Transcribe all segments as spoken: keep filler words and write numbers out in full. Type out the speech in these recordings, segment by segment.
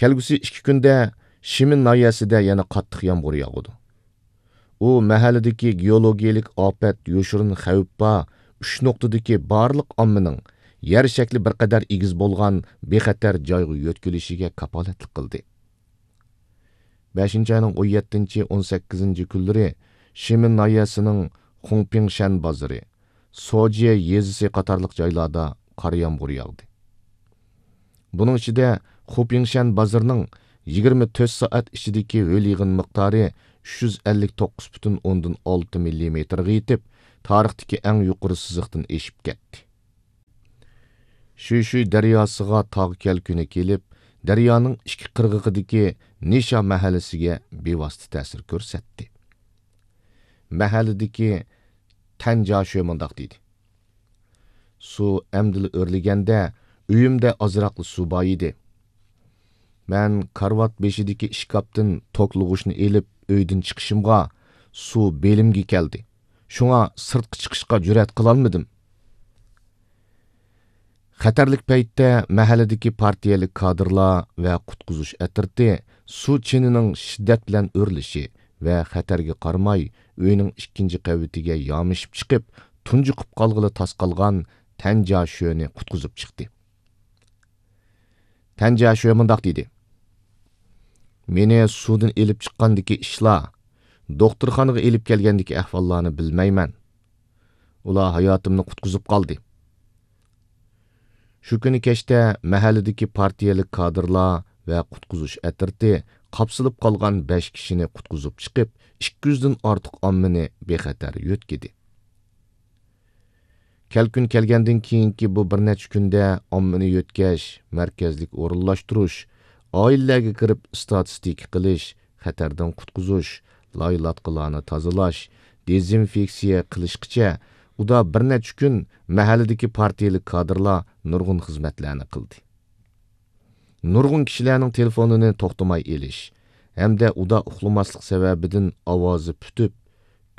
كەلگۈسى ئىككى كۈندە شىمىن ناھىيەسىدە يەنە قاتتىق يامغۇر ياغىدۇ. ئۇ مەھەللىدىكى گېئولوگىيەلىك ئاپەت، يوشۇرۇن خەۋپ بار ئۈچ نۇقتىدىكى بارلىق ئاممىنىڭ يەر شەكلى بىر قەدەر ئېگىز بولغان بىخەتەر جايغا يۆتكىلىشىگە كاپالەتلىك قىلدى. بەشىنچى ئاينىڭ ئون يەتتىنچى، ئون سەككىزىنچى كۈنلىرى شىمىن ناھىيەسىنىڭ خۇڭپىڭشەن بازىرى، سوجيې يېزىسى قاتارلىق جايلاردا قارا يامغۇر ياغدى. بۇنىڭ ئىچىدە خۇپىڭشەن بازىرىنىڭ يىگىرمە تۆت سائەت ئىچىدىكى ھۆل يېغىن مىقدارى ئۈچ يۈز ئەللىك توققۇز پۈتۈن ئوندىن ئالتە مىللىمېتىرغا يېتىپ، تارىختىكى ئەڭ يۇقىرى سىزىقتىن ئېشىپ كەتتى. شۈيشۈي دەرياسىغا تاغ كەلكۈنى كېلىپ، دەريانىڭ ئىككى قىرغىقىدىكى نىشا مەھەللىسىگە بىۋاسىتە تەسىر كۆرسەتتى. مەھەللىدىكى تەنجيا شۆ مۇنداق دېدى: سۇ ئەمدىلا ئۆرلىگەندە، ئۆيۈمدە ئازراقلا سۇ بار ئىدى. مەن كارىۋات بېشىدىكى ئىشكاپتىن توكلىغۇچنى ئېلىپ، ئۆيدىن چىقىشىمغا، سۇ بېلىمگە كەلدى. شۇڭا سىرتقا چىقىشقا جۈرئەت قىلالمىدىم. خەتەرلىك پەيتتە مەھەللىدىكى پارتىيەلىك كادىرلار ۋە قۇتقۇزۇش ئەترىتى سۇ چېنىنىڭ شىددەت بىلەن ئۆرلىشى ۋە خەتەرگە قارىماي، ئۆينىڭ ئىككىنچى قەۋىتىگە يامىشىپ چىقىپ، تۇنجۇقۇپ قالغىلى تاس قالغان تەنجيا شۆنى قۇتقۇزۇپ چىقتى. تەنجيا شۆ مۇنداق دېدى: مېنى سۇدىن ئېلىپ چىققاندىكى ئىشلار، دوختۇرخانىغا ئېلىپ كەلگەندىكى ئەھۋاللارنى بىلمەيمەن. ئۇلار ھاياتىمنى قۇتقۇزۇپ قالدى. شۇ كۈنى كەچتە مەھەللىدىكى پارتىيەلىك كادىرلار ۋە قۇتقۇزۇش ئەترىتى قاپسىلىپ قالغان بەش كىشىنى قۇتقۇزۇپ چىقىپ، ئىككى يۈزدىن ئارتۇق ئاممىنى بىخەتەر يۆتكىدى. كەلكۈن كەلگەندىن كېيىنكى بۇ بىر نەچچە كۈندە ئاممىنى يۆتكەش، مەركەزلىك ئورۇنلاشتۇرۇش، ئائىلىلەرگە كىرىپ ئىستاتىستىكا قىلىش، خەتەردىن قۇتقۇزۇش، لاي-لاتقىلارنى تازىلاش، دېزىنفېكسىيە قىلىشقىچە ئۇدا بىر نەچچە كۈن مەھەللىدىكى پارتىيەلىك كادىرلار نۇرغۇن خىزمەتلەرنى قىلدى. نۇرغۇن كىشىلەرنىڭ تېلېفونىنى توختىماي ئېلىش ھەمدە ئۇدا ئۇخلىماسلىق سەۋەبىدىن ئاۋازى پۈتۈپ،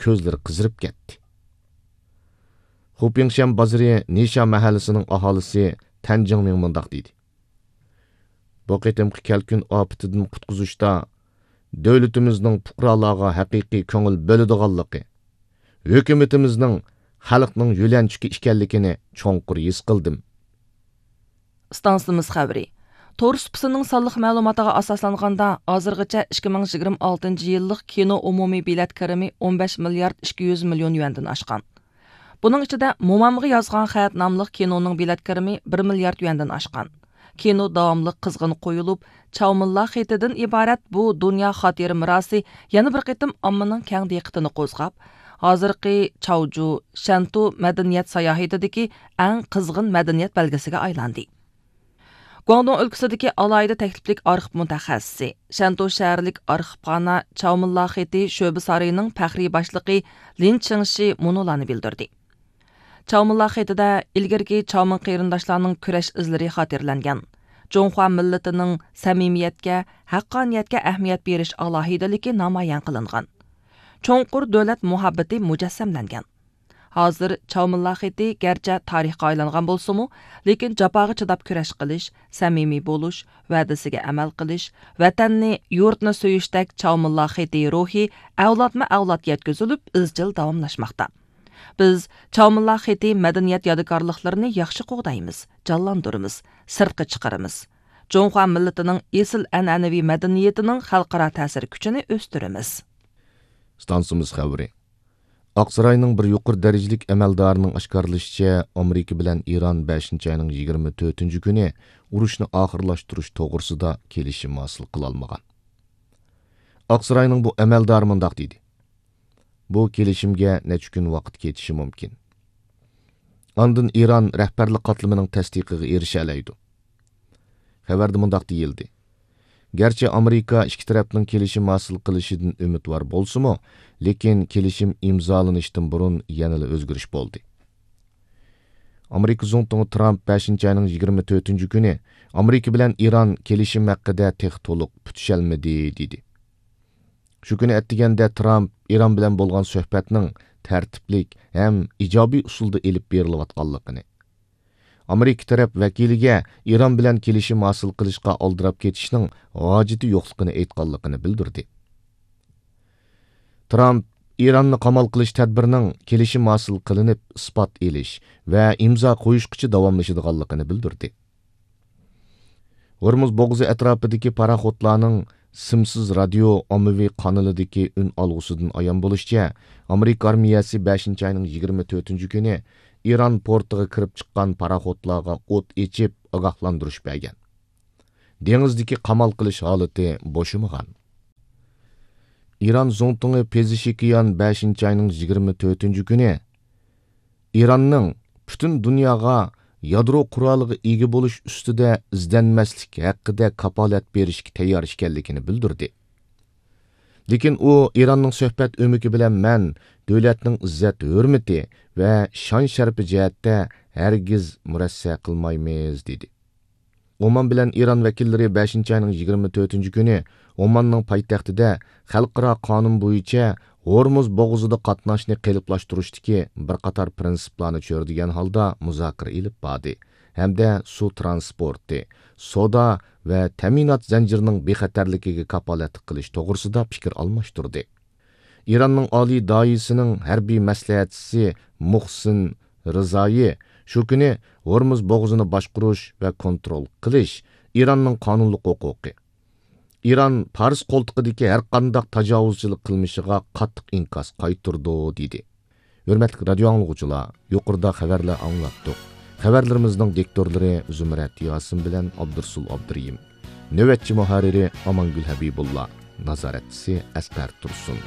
كۆزلىرى قىزىرىپ كەتتى. خۇپىڭشەن بازىرى نىشا مەھەللىسىنىڭ ئاھالىسى تەن جىڭمىڭ مۇنداق دېدى: بۇ قېتىمقى كەلكۈن ئاپىتىدىن قۇتقۇزۇشتا دۆلىتىمىزنىڭ پۇقرالارغا ھەقىقىي كۆڭۈل بۆلىدىغانلىقى، ھۆكۈمىتىمىزنىڭ خەلقنىڭ يۆلەنچۈكى ئىكەنلىكىنى چوڭقۇر ھېس قىلدىم. ئىستانسىمىز خەۋىرى. تور سۇپىسىنىڭ سانلىق مەلۇماتىغا ئاساسلانغاندا، ھازىرغىچە ئىككى مىڭ يىگىرمە ئالتىنچى يىللىق كىنو ئومۇمىي بېلەت كىرىمى ئون بەش مىليارد ئىككى يۈز مىليون يۈەندىن ئاشقان. بۇنىڭ ئىچىدە مومامغا يازغان خەت ناملىق كىنونىڭ بېلەت كىرىمى بىر مىليارد يۈەندىن ئاشقان. كىنو داۋاملىق قىزغىن قويۇلۇپ، چاۋمىنلا خېتىدىن ئىبارەت بۇ دۇنيا خاتىرە مىراسى يەنە بىر قېتىم ئاممىنىڭ كەڭ دىققىتىنى قوزغاپ، ھازىرقى چاۋجۇ، شەنتۇ مەدەنىيەت ساياھىتىدىكى ئەڭ قىزغىن مەدەنىيەت بەلگىسىگە ئايلاندى. گۇاڭدۇڭ ئۆلكىسىدىكى ئالاھىدە تەكلىپلىك ئارخىپ مۇتەخەسسىسى، شەنتۇ شەھەرلىك ئارخىپخانا چاۋمىنلا خېتى شۆبە سارىيىنىڭ پەخرىي باشلىقى لىن چىڭشى مۇنۇلارنى بىلدۈردى. چاۋمىنلا خېتىدە ئىلگىرىكى چاۋمىن قېرىنداشلارنىڭ كۈرەش ئىزلىرى خاتىرىلەنگەن. جۇڭخۇا مىللىتىنىڭ سەمىمىيەتكە، ھەققانىيەتكە ئەھمىيەت بېرىش ئالاھىدىلىكى نامايان قىلىنغان. چوڭقۇر دۆلەت مۇھەببىتى مۇجەسسەملەنگەن. ھازىر چاۋمىنلا خېتى گەرچە تارىخقا ئايلانغان بولسىمۇ، لېكىن جاپاغا چىداپ كۈرەش قىلىش، سەمىمىي بولۇش، ۋەدىسىگە ئەمەل قىلىش، ۋەتەننى، يۇرتنى سۆيۈشتەك چاۋمىنلا خېتى روھى ئەۋلادمۇ ئەۋلادقا يەتكۈزۈلۈپ، ئىزچىل داۋاملاشماقتا. بىز چاۋمىنلا خېتى مەدەنىيەت يادىكارلىقلىرىنى ياخشى قوغدايمىز، جانلاندۇرىمىز، سىرتقا چىقىرىمىز. جۇڭخۇا مىللىتىنىڭ ئېسىل ئەنئەنىۋى مەدەنىيىتىنىڭ خەلقئارا تەسىر كۈچىنى ئۆستۈرىمىز. ئىستانسىمىز خەۋىرى. ئاقساراينىڭ بىر يۇقىرى دەرىجىلىك ئەمەلدارىنىڭ ئاشكارىلىشىچە، ئامېرىكا بىلەن ئىران بەشىنچى ئاينىڭ يىگىرمە تۆتىنچى كۈنى ئۇرۇشنى ئاخىرلاشتۇرۇش توغرىسىدا كېلىشىم ھاسىل قىلالمىغان. ئاقساراينىڭ بۇ ئەمەلدارى مۇنداق دېدى: بۇ كېلىشىمگە نەچچە كۈن ۋاقىت كېتىشى مۇمكىن. ئاندىن ئىران رەھبەرلىك قاتلىمىنىڭ تەستىقىغا ئېرىشەلەيدۇ. خەۋەردە مۇنداق دېيىلدى: گەرچە ئامېرىكا ئىككى تەرەپنىڭ كېلىشىم ھاسىل قىلىشىدىن ئۈمىدۋار بولسىمۇ، لېكىن كېلىشىم ئىمزالىنىشتىن بۇرۇن يەنىلا ئۆزگىرىش بولدى. ئامېرىكا زۇڭتۇڭى ترامپ بەشىنچى ئاينىڭ يىگىرمە تۆتىنچى كۈنى ئامېرىكا بىلەن ئىران كېلىشىم ھەققىدە تېخى تولۇق پۈتۈشەلمىدى، دېدى. شۇ كۈنى ئەتىگەندە ترامپ ئىران بىلەن بولغان سۆھبەتنىڭ تەرتىپلىك ھەم ئىجابىي ئۇسۇلدا ئېلىپ بېرىلىۋاتقانلىقىنى، ئامېرىكا تەرەپ ۋەكىلىگە ئىران بىلەن كېلىشىم ھاسىل قىلىشقا ئالدىراپ كېتىشنىڭ ھاجىتى يوقلۇقىنى ئېيتقانلىقىنى بىلدۈردى. ترامپ ئىراننى قامال قىلىش تەدبىرىنىڭ كېلىشىم ھاسىل قىلىنىپ، ئىسپات ئېلىش ۋە ئىمزا قويۇشقىچە داۋاملىشىدىغانلىقىنى بىلدۈردى. ھورمۇز بوغۇزى ئەتراپىدىكى پاراخوتلارنىڭ سىمسىز رادىيو ئاممىۋى قانىلىدىكى ئۈن ئالغۇسىدىن ئايان بولۇشىچە، ئامېرىكا ئارمىيەسى بەشىنچى ئاينىڭ يىگىرمە تۆتىنچى كۈنى ئىران پورتىغا كىرىپ چىققان پاراخوتلارغا ئوت ئېچىپ، ئاگاھلاندۇرۇش بەرگەن. دېڭىزدىكى قامال قىلىش ھالىتى بوشىمىغان. ئىران زۇڭتۇڭى پېزىشكىيان بەشىنچى ئاينىڭ يىگىرمە تۆتىنچى كۈنى ئىراننىڭ پۈتۈن دۇنياغا يادرو قورالىغا ئىگە بولۇش ئۈستىدە ئىزدەنمەسلىك ھەققىدە كاپالەت بېرىشكە تەييار ئىكەنلىكىنى بىلدۈردى. لېكىن ئۇ ئىراننىڭ سۆھبەت ئۆمىكى بىلەن مەن دۆلەتنىڭ ئىززەت-ھۆرمىتى ۋە شان-شەرىپى جەھەتتە ھەرگىز مۇرەسسە قىلمايمىز، دېدى. ئومان بىلەن ئىران ۋەكىللىرى بەشىنچى ئاينىڭ يىگىرمە تۆتىنچى كۈنى ئوماننىڭ پايتەختىدە خەلقئارا قانۇن بويىچە ھورمۇز بوغۇزىدا قاتناشنى قېلىپلاشتۇرۇشتىكى بىر قاتار پىرىنسىپلارنى چۆرىدىگەن ھالدا مۇزاكىرە ئېلىپ باردى ھەمدە سۇ ترانسپورتى، سودا ۋە تەمىنات زەنجىرىنىڭ بىخەتەرلىكىگە كاپالەتلىك قىلىش توغرىسىدا پىكىر ئالماشتۇردى. ئىراننىڭ ئالىي دائىيىسىنىڭ ھەربىي مەسلىھەتچىسى مۇھسىن رىزايى شۇ كۈنى ھورمۇز بوغۇزىنى باشقۇرۇش ۋە كونترول قىلىش ئىراننىڭ قانۇنلۇق ھوقۇقى. ئىران پارس قولتۇقىدىكى ھەرقانداق تاجاۋۇزچىلىق قىلمىشىغا قاتتىق ئىنكاس قايتۇرىدۇ، دېدى. ھۆرمەتلىك رادىيو ئاڭلىغۇچىلار، يۇقىرىدا خەۋەرلەر ئاڭلاتتۇق. خەۋەرلىرىمىزنىڭ دىكتورلىرى زۇمرەت ياسىن بىلەن ئابدۇرسۇل ئابدۇرېھىم. نۆۋەتچى مۇھەررىرى ئامانگۈل ھەبىبۇللا. نازارەتچىسى ئەسقەر تۇرسۇن.